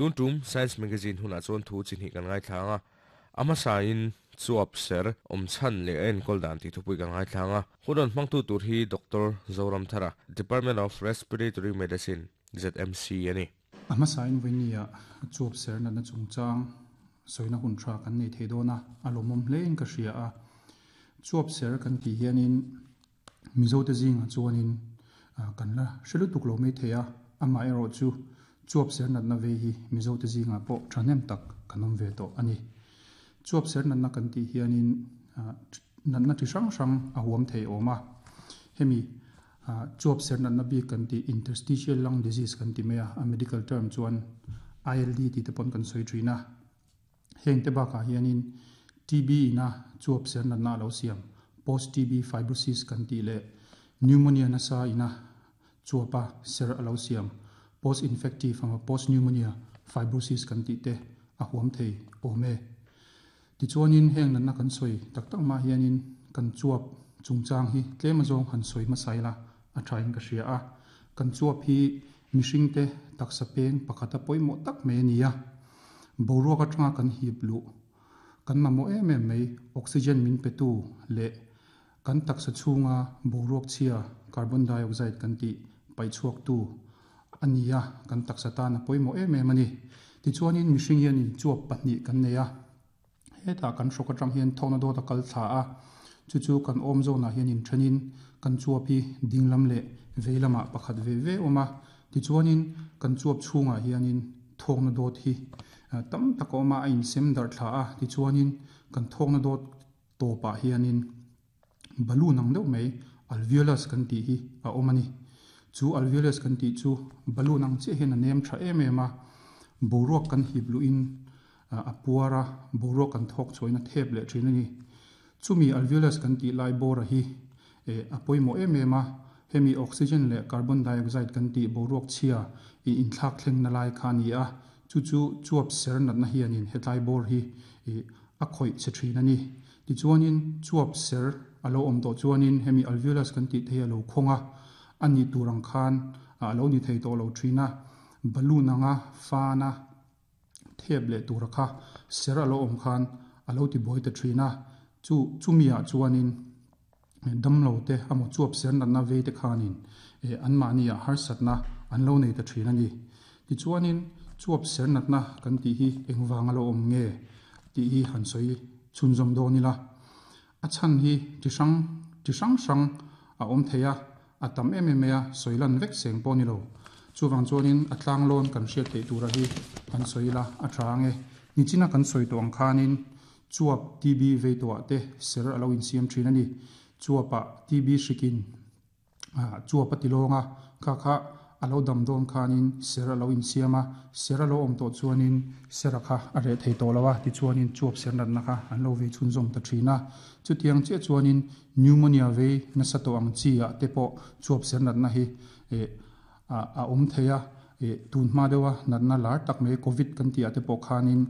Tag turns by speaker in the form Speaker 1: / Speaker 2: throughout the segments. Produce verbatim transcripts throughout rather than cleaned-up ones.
Speaker 1: Tun tum Science Magazine hunah chuan thu chi hnih kan ngaithla ang a, a hmasain chuap ser awm chhan leh a enkawl dan tih thupui kan ngaithla ang a. Hun rawn hmangtu tur hi Doctor Zoramthara, Department of Respiratory Medicine, Z M C a ni.
Speaker 2: A hmasain vawinia chuap ser natna chungchang sawina hun tha kan nei thei dawn a, a lawmawm hlein ka hria a. Chuap ser kan tih hianin Mizote zingah chuanin kan la hre lutuk lo mai thei a, amaherawh chu chuap ser natna ve hi Mizote zingah pawh thahnem tak kan awm ve tawh a ni. Chuap ser natna kan tih hianin natna chi hrang hrang a huam thei awm a. Hemi chuap ser natna bik kan tih, interstitial lung disease kan ti mai a, a medical term chuan I L D tih te pawn kan sawi thin a. Heng te bakah hianin T B ina chuap ser natna a lo siam, post T B fibrosis kan tih leh pneumonia nasa ina chuapa ser a lo siam, post infective ama post pneumonia fibrosis kan tih te a huam thei awm e. Tichuanin heng natna kan sawi tak tak mah hianin kan chuap chungchang hi tlem azawng han sawi hmasa ila a thain ka hria a. Kan chuap hi mihring te taksa peng pakhata pawimawh tak mai a ni a. Boruak atanga kan hip luh, kan mamawh em em mai oxygen min petu leh kan taksa chhunga boruak chhia, carbon dioxide kan tih, paihchhuak tu a ni a, kan taksa tan a pawimawh em em a ni. Tichuanin mihring hianin chuap pahnih kan nei a. Hetah kan hrawk atang hian thawkna dawt a kal thla a, chu chu kan awm zawnah hianin thenin kan chuap hi dinglam leh vei lamah pakhat ve ve awm a. Tichuanin kan chuap chhungah hianin thawkna dawt hi tam tak a awm a, a insem darh thla a. Tichuanin kan thawkna dawt tawpah hianin balloon ang deuh mai, alveolus kan tih hi a awm a ni. Chu alveolus kan tih chu balloon ang chiah hian a nem tha em em a, boruak kan hip luhin a puar a, boruak kan thawk chhuahin a thep leh thin a ni. Chumi alveolus kan tih lai bawra hi a pawimawh em em a, hemi oxygen leh carbon dioxide kan tih boruak chhia i inthlak thleng na lai kha a ni a. Chu chu chuap ser natna hianin hetlai bawr hi a khawih che thin a ni. Tichuanin chuap ser a lo awm tawh chuanin hemi alveolus kan tih te hi a lo khawng a, a ni tur ang khan a lo ni thei tawh lo thin a, balloon anga fana thep leh tur kha ser a lo awm khan a lo ti buai ta thin a. Chu chumi ah chuanin damlo te emaw chuap ser natna vei te khanin an mahni ah harsatna an lo nei ta thin a ni. Tichuanin chuap ser natna kan tih hi engvang a lo awm nge tih hi han sawi chhunzawm dawn ila. A chhan hi chi hrang chi hrang hrang a awm thei a, a tam em em mai a, sawi lan vek seng pawh ni lo. Chuwang chuanin a tlang lawn kan hriat theih tura hi han sawi ila a tha ange. Nichina kan sawi tawh ang khanin chuap T B vei tawhah te ser a lo insiam thin a ni. Chuapah T B hrikin chuap a ti lawng a, kha kha a lo dam dawn khanin ser a lo insiam a, ser a lo awm tawh chuanin sera kha a reh thei tawh lo a, tichuanin chuap ser natna kha an lo vei chhunzawm ta thin a. Chutiang chiah chuanin pneumonia vei nasa tawh ang chi ah te pawh chuap ser natna hi a awm thei a. Tun hma deuha natna lar tak mai, COVID kan tih ah te pawh khanin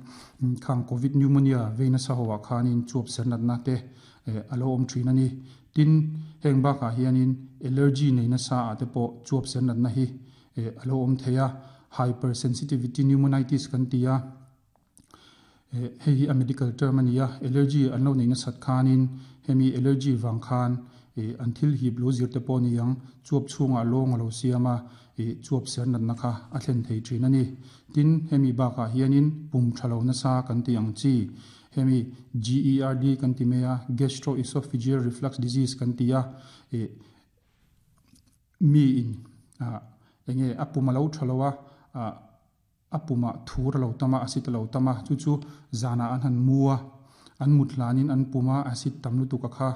Speaker 2: khang COVID pneumonia vei nasa ho ah khanin chuap ser natna te a lo awm thin a ni. Tin, heng bakah hianin allergy nei nasa ah te pawh chuap ser natna hi a lo awm thei a, hypersensitivity pneumonitis kan ti a, hei hi a medical term a ni a. Allergy an lo nei nasat khanin hemi allergy vang khan an thil hip lo zir te pawh ni ang, chuap chhungah lawng a lo siam a, chuap ser natna kha a thlen thei thin a ni. Tin, hemi bakah hianin pum thalo nasa kan ti ang chi, hemi G E R D kan ti mai a, gastroesophageal reflux disease kan ti a, mi in enge a pum a lo thalo a, a puma thur a lo tama, acid a lo tama, chu chu zana an han mu a, an mut hlanin an puma acid tam lutuk a kha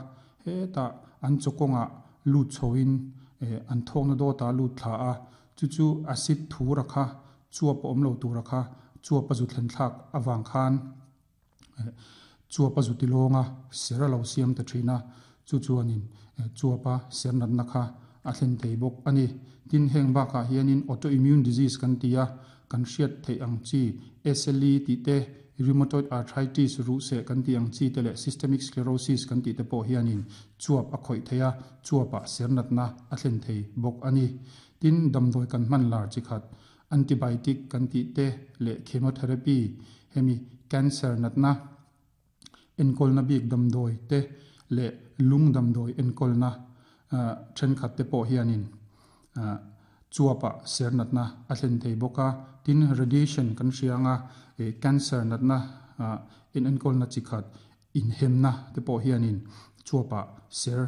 Speaker 2: hetah an chawkawngah lut chhoin an thawkna dawta lut thla a, chu chu acid thur a kha chuap a awm lo tur a kha chuap a zu thlen thlak awang khan chuap a zu ti lawnga ser a lo siam ta thin a, chu chuanin chuapa ser natna kha a thlen thei bawk a ni. Tin, heng bakah hianin autoimmune disease kan ti a, kan hriat theih ang chi S L E tih te, rheumatoid arthritis, ruh seh kan ti ang chi te leh systemic sclerosis kan tih te pawh hianin chuap a khawih thei a, chuapah ser natna a thlen thei bawk a ni. Tin, damdawi kan hman lar chi khat Antibiotic kan ti te le chemotherapy hemi cancer natna enkol na bik damdoi te le lung damdoi enkol na then khat te pawh hianin chuapa ser natna a thlen thei bawka tin radiation kan hrianga e cancer natna in enkol na chikhat in hemna te pawh hianin chuapa ser